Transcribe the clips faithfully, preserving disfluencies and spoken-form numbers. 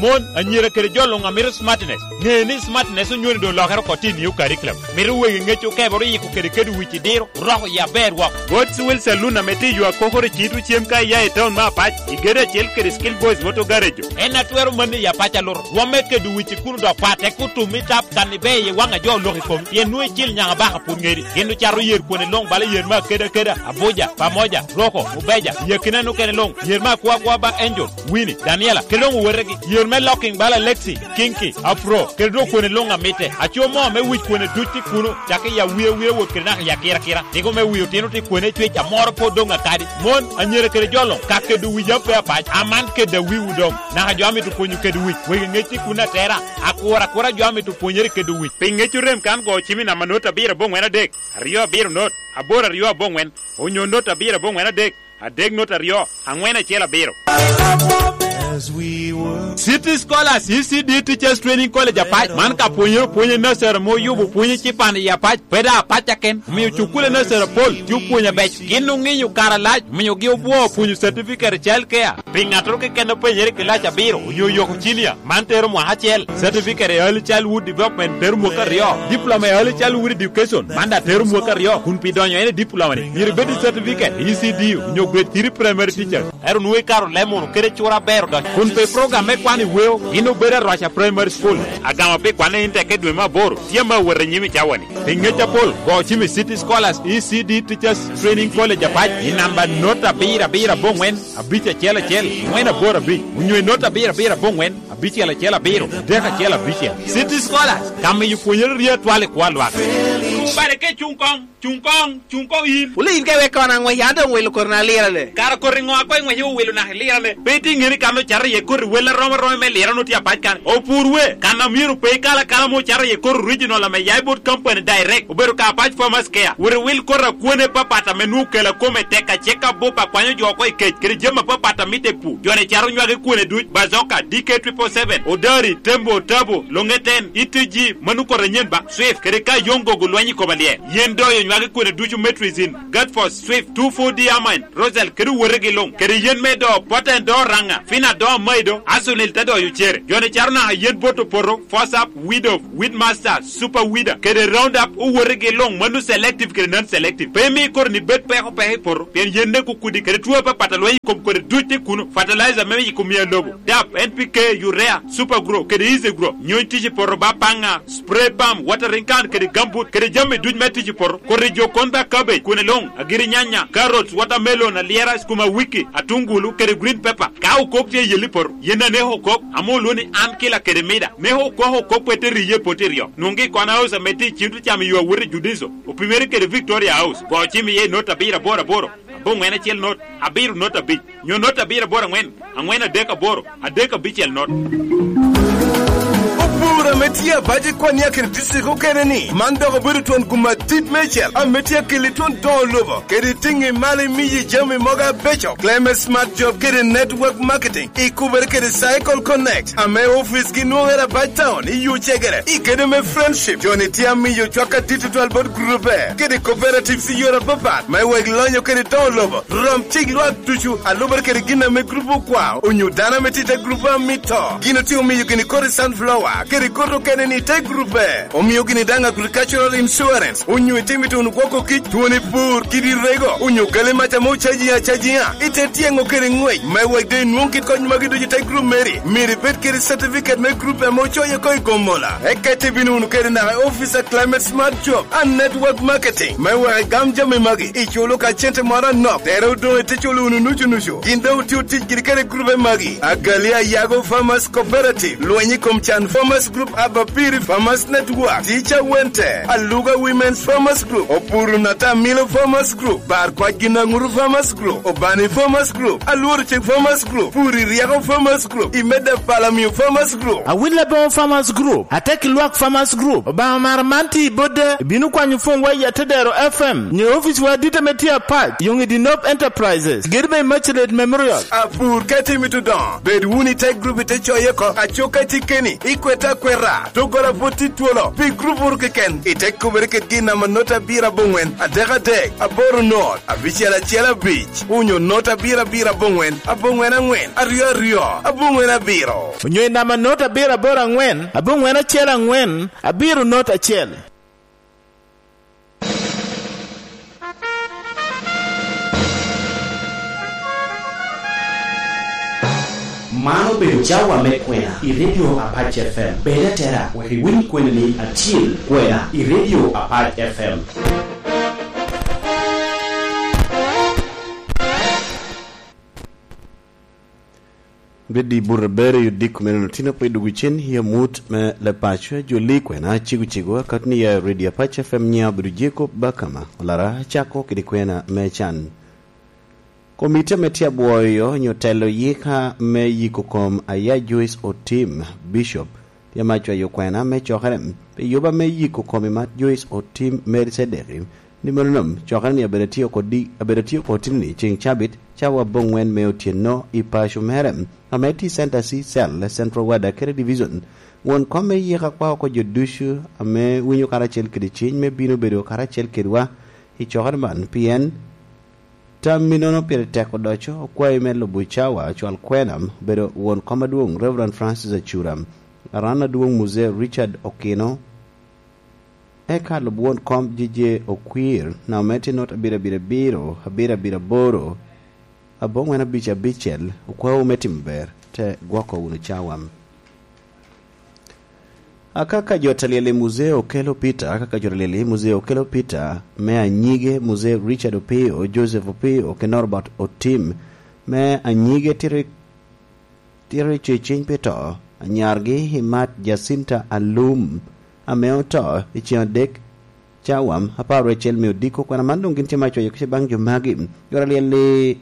Mon, anyira kede jo luŋ a mito smartness, ŋe ni smartness onywoni doŋ olokere oko tye i new curriculum. Mito wegi ŋec okebere oyiko kede kede wic i diro, roko i aber wok. God's Will Saloon ame tye i yo akokoro i Citro cem ka iya i taun me Apac, i gedo acel kede Skill Boys Auto Garage. En a twero manni i Apac aluto. Rwomme kede wic i kuno dok pat, tek otum i tap kan ibe i waŋ a jo olok i kom, pien nwoŋo icil nyaŋ abaka pwod ŋedi. Gin ocato yer kwone luŋ bala yer me akeda akeda, Abuja, Pamoja, Roko, Mubeja, i akina nokene luŋ, yer me akwa akwa ba Angel, Winnie, Daniela, kede doŋ owetegi. Yer me locking bala Lexi, Kinky, Afro, kede doŋ kwone luŋ amitte. Aco mo me wic kwone duc tye kuno, cakki i awiawi awot kede naka i akirakira. Tiko me wi otino tye kwone cwec amoro pwod doŋ akadi. Mon, anyira kede jo luŋ, ka kedo wic ape apac, aman kedo awiwu doŋ. Naka jo amito pwonyo kedo wic, wegi ŋec tye kuno atera. Akura akura jo amito pwonyere kedo wic. Pi ŋec orem kan go cim i namba not abiro aboŋwen adek, aryo abiro not, aboro aryo aboŋwen, onyo not abiro aboŋwen adek, adek not aryo, aŋwen acel abiro. City Scholars, E C D Teachers Training College Apac, man ka pwonyere opwony i nursery ame oyubo pwony ecipan i Apac, pe daŋ Apac aken, omio cukule nursery apol tye opwony abeco. Gin oŋinyo kare alac, omiogi obwoo pwonyo certificate i child care. Pi ŋattoro keken a penyere i kilaci abiro onyo oyoko cinia, man tero mwaka acel. Certificate i Early Childhood Development tero mwaka aryo. Diploma i Early Childhood Education, man daŋ tero mwaka aryo. Kun pi donyo en i diploma-ni, myero ibed i certificate i E C D onyo grade three primary teachers. Ento nwoŋo ikaro leb munu kede cura aber odonyo. Kun pi program me kwano i weo, gin obedo Arwaca Primary School. Agamo pi kwanne in tekke dwe me aboro, tye ame awot i nyim i cawa-ni. Pi ŋec apol, go cim i City Scholars E C D Teachers Training College Apac i namba not abiro abiro aboŋwen, abic acel acel, ŋwen aboro abic, onyo i not abiro abiro aboŋwen, abicel acel abiro, adek acel abicel. City Scholars, ka miyo pwonyere rye atwal i kwo a lwak. Bade ka icuŋ koŋ, cuŋ koŋ, cuŋ koŋ in. Wule in ka iweko an aŋwec, an doŋ wilo koti na lirane. Kara koti ŋo a koŋ iŋwece owilo naka ilirane? Pe itye ŋeni kan ocato iye koti wel arom aroma me lirane otye apac kan. Opur we, kan a myero pe ikal akala ame ocato iye koti original ame ya i bot company direct, obedo ka Apac Farmers Care. Wot iwil koti akwene papat ame nwoŋo kela kome tek acek abup akwanyo jo oko i kec, kede jami apapat a mitte i pur. Joni cato nywagi kwene duc, Bazoka, D K triple seven, Odari, Tembo, Tabo, Longeten, E T G, mano koti anyen ba, Swift, kede ka Yongo go lweny i koma lyel. Yen doyo nywagi kwene ducu, Metrizin, Gatfos, Swift, two four D Amine, Rosel, kede owotegi luŋ, kede yen me do, Poten do Raŋa, Fina do Amaido, Asunil te doyo cere. Joni cato naka yen bot opoto, Fosap, Widow, Weedmaster, Super Weeder, kede Roundup, owotegi luŋ, mano selective kede non-selective. Pe imi koti ni bed peko peko i poto, pien yen ne kukudi, kede two apapat a lweny i kom kodi duc tye kuno, fertilizer me yiko mia lobo, dap, N P K, urea, Super Grow, kede Easy Grow, nyony tic i poto ba paŋa, spray pump, watering can, kede gambut, kede jami duc me tic i poto, koti jo kon ba cabbage, kwene luŋ, agiri nyanya, carrots, watermelon, alyera, skuma wiki, atungulu, kede green pepper. Ka okok tye i yelli poto, yen aneko okok, ame olwo ni an kila kede mida. Neko okok okok pe te riye poti ryo. Nwoŋgi i Kona House ame tye i Cintro cam i yo awot i Judiso, opimere kede Victoria House. Go cim iye i not abiro aboro aboro, aboŋwen acel not, abiro not abic, nyo not abiro aboro aŋwen, aŋwen adek aboro, adek abicel not. Opur ame tye abac i Kwania kede district okene ni, man dok obedo twon gum adit meicel ame tye akeli twon doŋo lobo, kede tiŋi malo imiyi jami mogo abeco. Climate Smart Job kede Network Marketing ikubere kede Cycle Connect, ame ofice gi nwoŋere abac town i yo cegere. I kede me friendship, joni tye amiyo cwak adit tutwal bot grube kede cooperatives i yore apapat, me wek lonyo kede doŋo lobo. Rom cik lwak ducu, a lubere kede gin ame grup okwao, onyo dano ame tye i te grup a mito. Gin otye omiyo gini kodi sunflower, kede kodi okene ni te grup B. Omio gini daŋ agricultural insurance, onyo itimo ituno gwoko kic, twoni pur, kidi rego, onyo kali mac ame ocaji acajiŋa. Ite tyeŋo kede ŋwec, me wek doŋ inwoŋ kit kony magi ducu i te grup meri. Myero ibed kede certificate me grup ame ocoyo oko i Gomola. Eka ite bino wunu kede naka i office a Climate Smart Job and Network Marketing, me wek igam jami magi, iculo ka cente moro anok, tere odoŋ ite culo wunu nucu nucu. Gin doŋ otye otic giri kede grube magi: Agali Ayago Farmers Cooperative, Lweny i kom Can Farmers Group, Abapiri Farmers Network, Teacher Wente, Aluga Women's Farmers Group, Opuru Natamilo Farmers Group, Bar Kwac Ginaŋuru Farmers Group, Obani Farmers Group, Alworo Cik Farmers Group, Puri Ryeko Farmers Group, Imeda Palamio Farmers Group. Awil Aboŋo Farmers Group, Atek Lwak Farmers Group, Obaŋa Mara man tye i Bodde, ibino kwanyo pwonywa i Atedero F M, nyo ofice wa adit ame tye apac, Yoŋ i Dinop Enterprises, gedo me Immaculate Memorial. Apur ka itimo itudoŋo, bed wunu i te grup ite coye oko, aco ka itye keni, ikwete akweta. Ra, doggola pwod tye twolo pi gurup oro keken. Ite kubere kedgi i namba not abiro aboŋwen adek adek aboro not abicel acel abic, onyo not abiro abiro aboŋwen aboŋwen aŋwen aryo aryo aboŋwen abiro. Onyo i namba not abiro aboro aŋwen aboŋwen acel aŋwen abiro not acel. Man obedo cawa me kwena i Radio Apac F M. Bed atera wek iwiny kweni ni atyel kwena i Radio Apac F M. Bed i buto aber i odiko me nino tino pe dwogo cen i amut me Lepaco, joli kwena cego cego, akati ni ya i Radio Apac F M nya obedo Jacob Bakama, olara acako kede kwena me can. Komiti ame tye abwoyo nyo telo yika me yiko kom aya Joyce Otim, Bishop, tye ame acwayo kwena me cokere pi yuba me yiko kom i mat Joyce Otim Mary Cedeki, ni mano nom cokere ni abedo atye oko di-, abedo atye oko tini ceŋ cabit, cawa aboŋwen me otyeno i paco mere, ame tye i Center C Cell, Central Ward, Akere Division. Won kom me yika kwa oko jo ducu ame winyo karacel kede ciny me bino bedo karacel kedwa i cokere man, pien tammi nono pire tek odoco. Okwayi me lubo cawa cwal kwena, obedo won kom adwoŋ, Reverend Francis Acura, aran adwoŋ, Muzee Richard Okino, eka lub won kom J J Okwir, namba me tye not abiro abiro abiro, abiro abiro aboro, aboŋwen abic abicel. Okwawu me timo ber, te gwoko wunu cawa. Akaka jo ta lyel i Muzee Okello Peter, akaka jo ta lyel i Muzee Okello Peter, me anyige Muzee Richard Opiyo, Joseph Opiyo, kede Norbert Otim, me anyige tito, tito i ceciny pi to, anyargi i mat Jacinta Alum, ame oto i ceŋ adek cawa apar wiye acel me odiko. Kwena man doŋ gin tye ma acwayo kica baŋ jo magi. Jo ta lyel i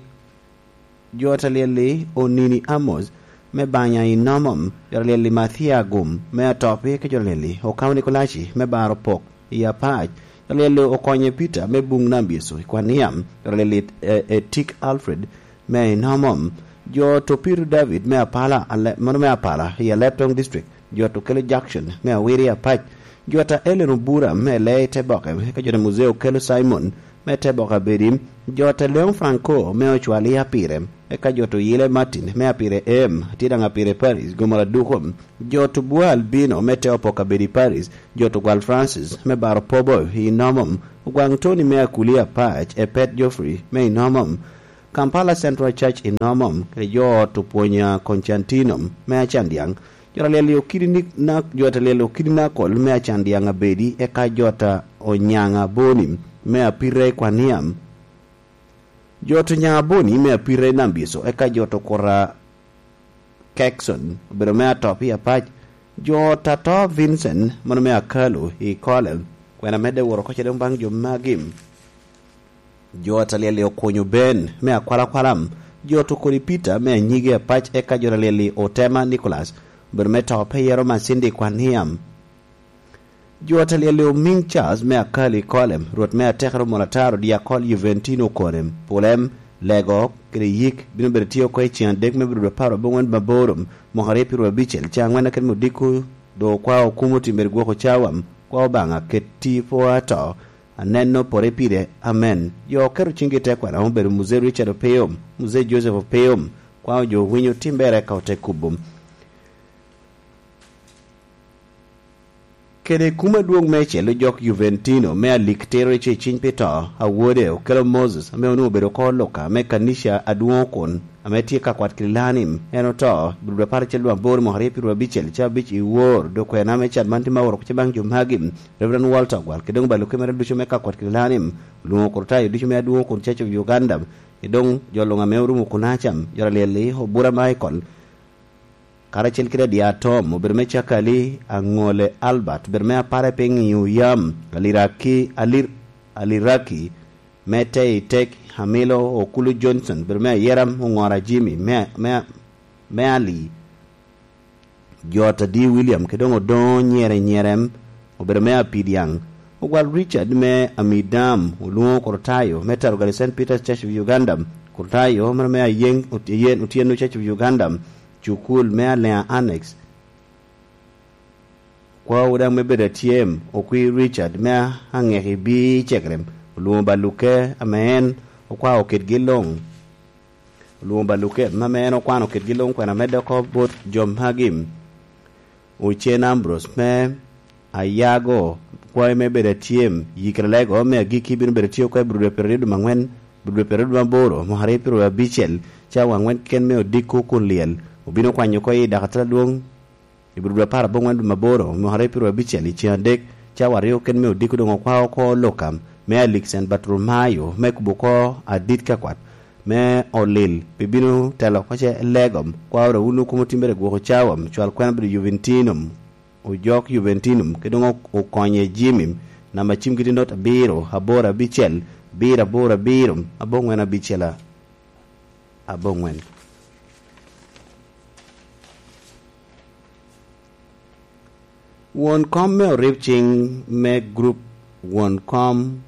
Jo ta lyel i Onini Amos me banya i Nomom, jo ta lyel i Mathia Agum me Atopi, ki jo ta lyel i Okamo Nikolaci me baro pok i Apac, jo ta lyel i Okonye Peter me Buŋ Nam Yecu i Kwaniam, jo ta lyel i, e, Etik Alfred me i Nomom, jo to Peter David me Apala, ale-, mano me Apala i Aleptong District, jo to Kelo Jackson me Awiri Apac, jo ta Ellen Obura me Lee i Teboke, eka jo ta Muzee Okello Simon me Teboke Abedi, jo ta Leon Franco me Ocwali Apire, eka jo ta Oyile Martin me Apire Em, tye daŋ Apire Paris, Gomora Duko, jo ta Obua Albino me Te Opok Abedi Paris, jo ta Ogwal Francis me Baro Pobo i Nomom, Ogwaŋ Tony me Akuli Apac, Epet Geoffrey me i Nomom, Kampala Central Church i Nomom, kede jo ta Opwonya Constantino me Acandiaŋ, jo ta lyel i Okidi ni-, na-, jo ta lyel i Okidi Nakol me Acandiaŋ Abedi, eka jo ta Onyaŋ Aboni me Apira i Kwaniam, jo ta Onyaŋ Aboni me Apira i Nambiso, eka jo ta Okura Kekson obedo me Atop i Apac, jo ta to Vincent, mano me Akalu i Kole. Kwena medde woro oko ca doŋ baŋ jo magi. Jo ta lyel i Okunyo Ben me Akwalakwala, jo ta Okodi Peter me Anyige Apac, eka jo ta lyel i Otema Nicholas, obedo me to Peyero Macindi Kwaniam. Jo ta lyel i Omiŋ Charles me Akali Kolem, Rwot me Atekere Omol Ataro, Diakol Juventino Konem, Pulem, Lego, kede Yik, bino bedo tye oko i ceŋ adek me bino apar aboŋwen maboro, mwaka aryo piro abicel, ceŋ aŋwen akene me odiko, doŋ okwa okumo timmere gwoko cawa, kwa Obaŋa, keti pwo ato, aneno pore pire, amen. Jo oketo ciŋgi i te kwena, obedo Muzee Richard Opio, Muzee Joseph Opio, kwa ojo winyo timbere ka ote kubo. Kede kum adwoŋ me celo jok Juventino me alik tero i ceciny pi to, awode Okello Moses, ame onwoŋo obedo oko Luka me kanica adwoŋ kun, ame tye ka kwat Kililani, en oto, i dwe apar acel dwe aboro mwaka aryo piro abicel, ca abic i wor, dok kwena me cat man tye ma oro kuca baŋ jo magi, Reverend Walter Ogwal, kede doŋ balo kemere ducu me ka kwat Kililani, olwoŋo Kurtayo ducu me adwoŋ kun Church of Uganda, kede doŋ jo luŋ ame orumo kunaca, jo ta lyel i Obura Michael, karacel kede Adya Tom, obedo me Cakali, Aŋole Albert, obedo me Apara i Piny i Oyam, Aliraki, Alir-, Aliraki, me Tei Tek, Amilo Okulu Johnson, obedo me Ayera, Oŋora Jimmy, me, me, me Ali, Jot Adi William, kede doŋ Odoŋo Nyere Nyerem, obedo me Apidiaŋ, Ogwal Richard me Amidam, Olwoŋo Kurtayo, me Tarugale Saint Peter's Church of Uganda, Kurtayo, mano me Ayeŋ, Ot-, Ayen Otieno Church of Uganda, Cukul me Alea Annex, Okwaowu daŋ me bedo atyem, okwi Richard me aŋeki bi cekrem, olwoŋo baluke ame en okwao kitgi luŋ. Olwoŋo baluke ame en okwano kitgi luŋ kwena me doko bot jo magi. Ocen Ambrose me Ayago, kwayo me bedo atyem, yikere lego me agikki bino bedo tye oko i Bududa Perodi dwe angwen, Bududa Perodi dwe aboro, mwaka aryo pyeraryo abicel, cawa angwen keken me odiko kun lyel obino kwanyo oko i dakatala adwoŋ i Bududa apar aboŋwen dwe aboro, mwaka aryo pyeraryo abicel, i ceng adek, cawa aryo keken me odiko doŋ okwao oko Lukam me Aliksen Batrumayo me kubo oko adit ka kwat me olil, pi bino telo oko ce legom, kwao dok wun okumo timbere gwoko cawa, cwal kwena bedo Juventinum. Ojok Juventinum, kede doŋ okonye Jimmy, namba cimgi tye not abiro, aboro abicel, abiro aboro abiro, aboŋwen abicel a-, aboŋwen. Won kom me orib cing me grup won kom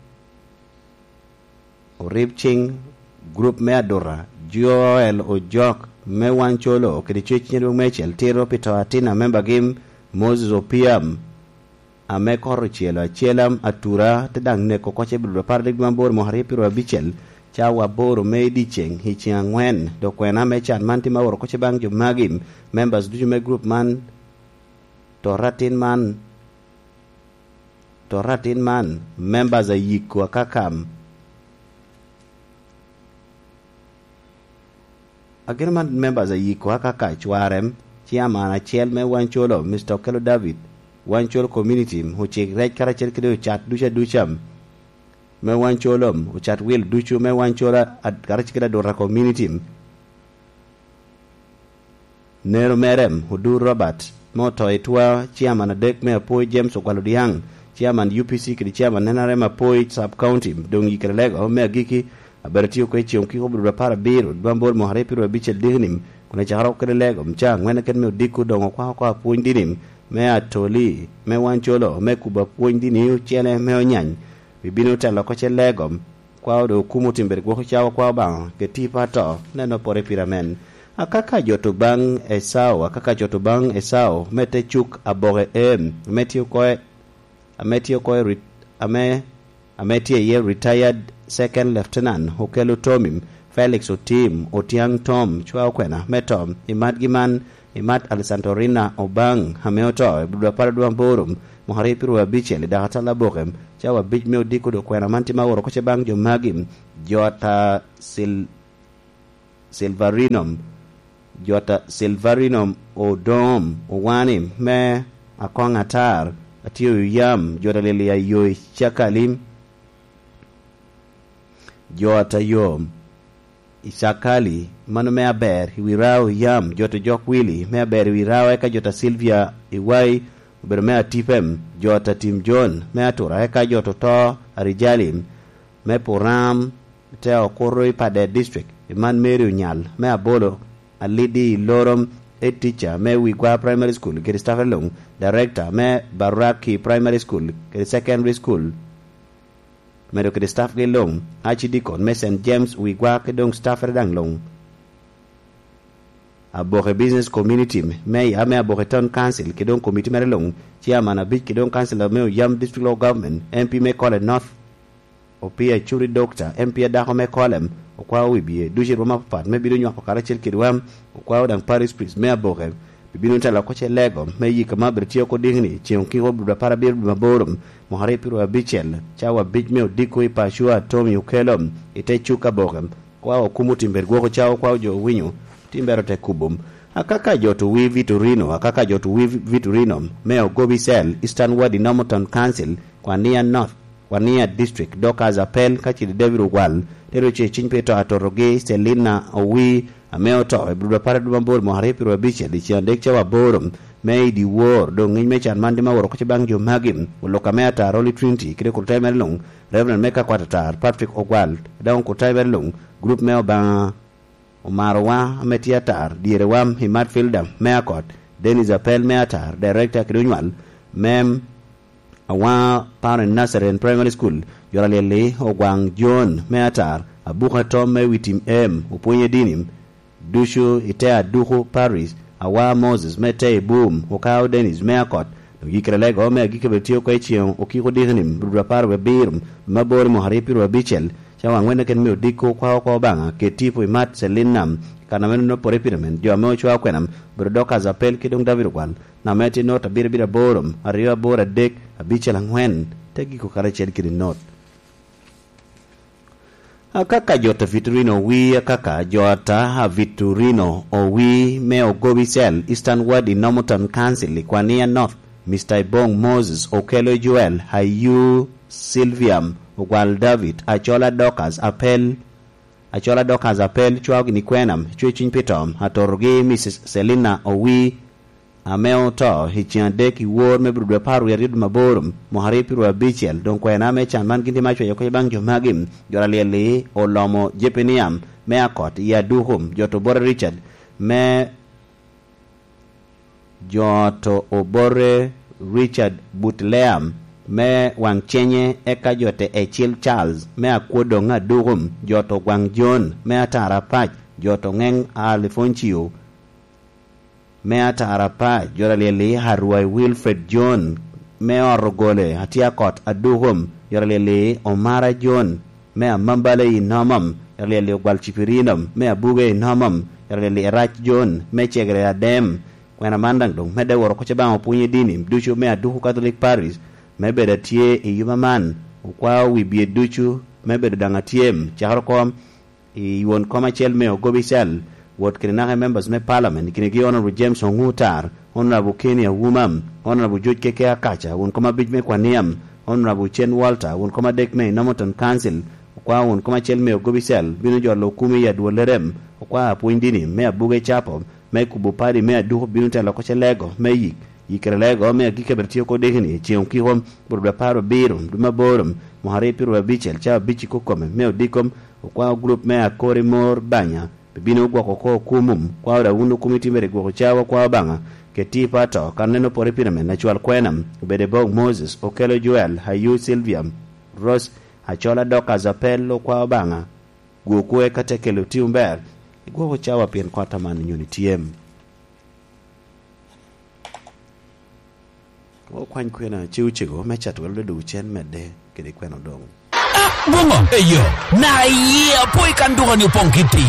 orib cing, grup me aduta, Joel Ojok me Wancolo kede Cwec Nyedwong Mecel tito pi to atin a membagi Moses Opiam, ame koro ocelo acela atura, te daŋ neko oko ce Bududa apar adek dwe aboro mwaka aryo pyeraryo abicel, cawa aboro me i dyeceŋ i ceŋ angwen. Dok kwena me can man tye ma oro oko ce baŋ jo magi, members ducu me grup man, to atin man, to atin man, members a yiko akakam. Ageno man members a yiko akaka cwarem, chairman acel me Wancolo, Mister Okello David, Wancolo Community, ocik rec karacel kede ocat ducu aduca me Wancolo, ocat wil ducu me Wancolo, ad-, karacel kede aduta community. Nero Merem, Odur Robert, me oto i twa, chairman adek me Apoi James Ogwal Odiaŋ, chairman U P C kede chairman N R M Apoi Sub County, doŋ yikere lego me agikki, abedo tye oko i ceŋ okiko Bududa apar abiro dwe aboro mwaka aryo pyeraryo abicel dikni, kun acakere oko kede lego, ca angwen keken me odiko doŋ okwao oko apwony dini me Atoli, me Wancolo, me kubo apwony dini ocele me Onyany, pi bino telo oko ce lego, kwao doŋ okumo timbere gwoko cawa kwao Obaŋa, kede tipo ato, neno pore pire amen. Akaka jot obaŋ Esau, akaka jot obaŋ Esau, me te cuk aboke em, ame tye oko, ame tye oko i rit-, ame, ame tye iye retired Second Lieutenant Okello Tommy, Felix Otim, Otiaŋ Tom, cwa okwena, me to, i matgi man, i mat Alessandrina Obaŋ, ame oto, i Bududa apar dwe aboro, mwaka aryo pyeraryo abicel, i dakatala aboke, cawa abic me odiko dok kwena man tye ma oro oko ce baŋ jo magi, jot a Sil-, Silverino, jot a Silverino Odom Owani me Akoŋ Atar, Atio Yam, jot a Lili Ayo i Cakali, jot a Yom i Cakali, mano me aber i wi Rao Yam, jot a Jok Wili me aber i wi Rao, eka jot a Silvia Iwai obedo me Atipem, jot a Tim John me Atura, eka jot oto a Rijali me Puram, te okuto i Pader District, i man Mary Onyal me Abolo, Alidi i Lorom, head teacher me Wigwa Primary School, kede staff luŋ, director me Baraki Primary School, kede Secondary School, medo kede staff gi luŋ, archdeacon me Saint James Wigwa, kede doŋ staff daŋ luŋ. Aboke Business Community, Mayor me Aboke Town Council, kede doŋ committee mere luŋ, chairman abic, kede doŋ councilor me Oyam District Local Government, M P me Kole North, Opia Churi Doctor, M P adako me Kolem, okwao wi bye, ducu i rwom apapat me bino nywako karacel kedwa, okwao daŋ parish priest me Aboke, bibino telo oko ce lego, me yika ma bene tye oko dikni, ceŋ okiko dwe apar abiro dwe aboro, mwaka aryo pyeraryo abicel, cawa abic me odiko i Pacua Tommy Okello, i te cuk Aboke, kwao okumo timbere gwoko cawa kwao jo owinyo, timbere ote kubo. Akaka jot owi Vitorino, akaka jot owi Vitorino, me Ogobi Cell, Eastern Ward i Northern Council, Kwania North, Kwania District, Dorcas Apel, ka cili David Ogwal, te ro ce ciny pe to atotogi, Selina Owi, ame oto, i Bududa apar dwe mabor, mwaka aryo pyeraryo abicel, i ceng adek cawa aboro, me i dyewor, doŋ ŋic me can man tye ma oro oko ce baŋ jo magi, Oluka me Atar, Holy Trinity, kede Kurtai mere luŋ, Reverend me Kakwat Atar, Patrick Ogwal, daŋ Kurtai mere luŋ, Group me Obaŋa, Omarowa ame tye atar, dyere wam i Matfilda me Akot, Dennis Apel me atar, Director kede onywal me Awaŋa Parent Nursery and Primary School, Jora Lyelli, Ogwaŋ John me atar, Abuka Tom me Witim Em, Opwonye Dini, ducu i te Aduku Parish, Awaŋa Moses me te Ibum, Okao Dennis me Akot, Oyikkere lego me agikki bene tye oko i ceŋ okiko diki-ni, rwot apar wie abiro, me aboro i mwaka aryo pyeraryo abicel, cawa angwen keken me odiko kwa oko Obaŋa, kede tipo i mat Celinam, kan ame nongo pore pire men, jo ame ocwao kwena, obedo Dorcas Apel ki doŋ David Ogwal, namba ame tye not abiro abiro aboro, aryo aboro adek, abicel angwen, te giko karacel kede not. Akaka jot a Victorino Owi, akaka jot a Victorino Owi me Ogobi Cell, Eastern Ward i Normanton Council i Kwania North, Mister Ibong Moses, Okelo Joel, Ayu Sylviam, Ogwal David, Acola Dorcas Apel, Acola Dorcas Apel, cwao gini kwena, cwe cuny pi to, atorogi Missus Selina Owi, ame oto i ceŋ adek i wor me Abril dwe apar wie aryo dwe maboro, mwaka aryo pyeraryo abicel, doŋ kwena me can man gin tye me acweyo kec baŋ jo magi, jo alyel-li olomo Jepiniam me Akot i Adukum, jo to Obore Richard me, jo to Obore Richard Butleam me Waŋcenye, eka jo te Ecil Charles me Akwodoŋ Adukum, jo to Gwaŋ John me Atarapac, jo to Ŋeŋ Alifoncio me Atarapac, jo alyel-li Arwai Wilfred John me Ot Ogole, Atyakot Adukum, jo alyel-li Omara John me Amambala i Nomom, jo alyel-li Ogwal Cipirinom me Abuge i Nomom, jo alyel-li Erac John me Cegere Adem. Kwena man daŋ doŋ medde woro oko ce baŋ opwony i dini ducu me Aduku Catholic Parish, me bedo atye i yuma man, okwao wi bye ducu me bedo daŋ atyem, cakere oko i won kom acel me Ogobi Cell, wot kede naka i members me parliament, i kinegi Honorable James Ongutar, Honorable Kenny Awuma, Honorable George Keke Akaca, won kom abic me Kwaniam, Honorable Chen Walter, won kom adek me Normanton Council, okwao won kom acel me Ogobi Cell, bino jolo okumi i adwolle rem, okwao apwony dini me Abuge Capo, me kubo padi me Aduku bino telo oko ce lego me yik, yikkere lego me agikki abiro tye oko diki-ni, ceŋ okiko, bur dwe apar abiro, dwe me aboro, mwaka aryo pyeraryo abicel, cawa abic i kokome, me odiko, okwao gurup me Akori Mor Banya, bibino gwoko oko okumum, kwao daŋ wun okumi timere gwoko cawa kwa Obaŋa, kede tipo ato, kan neno pore pire men, acwal kwena, obedo i bog Moses, Okelo Joel, Ayu Sylvia, Rose, Acola Dorcas Apel, okwa Obaŋa, gwokwu eka te kelo tim ber, igwoko cawa pien kot aman onyo ni tyem. Okwany kwena ce ocego me cato welo dodo cen medde kede kwena odoŋ. Ah, boŋo? Eyo, na iye apo i kan duka ni opoŋ kiti.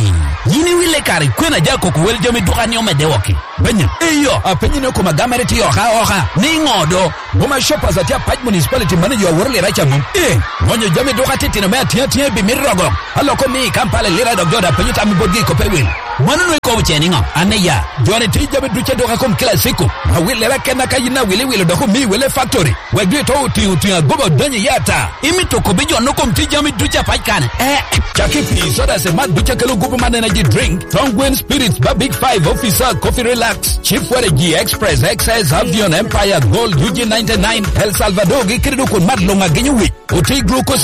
Yin iwile kare kwena ja koko wel jami duka ni omedde wok-ki. Benya, eyo, apenyi ni okoma gamere ti oka oka. Ni ŋo do? Boma Shoppers atye apac municipality manager aworo lira ca mom. Eh, ŋonyo jami duka titino me atyea atyea bi mito rogo. Aloko mi i Kampala lira dok jo da penyo tam i botgi i kope wil. Mano nwe kobo ce niŋo? An iya, joni ti jami duce duka kom kila siko. Awil lira kenna ka yin awil iwilo dok omi wele factory. Wek dwe to otiŋo otiŋo agoba odonyo iye ata. Imito kobi jo no kom ti jami duce apac kane. Eh, caki pi soda se mat duce kelo gupu man energy drink. Tongwen Spirits ba Big Five Officer Coffee Relax. Chief Waragi Express X S Avion Empire Gold U G ninety-nine El Salvador gi kede dok kun mat luŋ agenyo wic. Oti glucose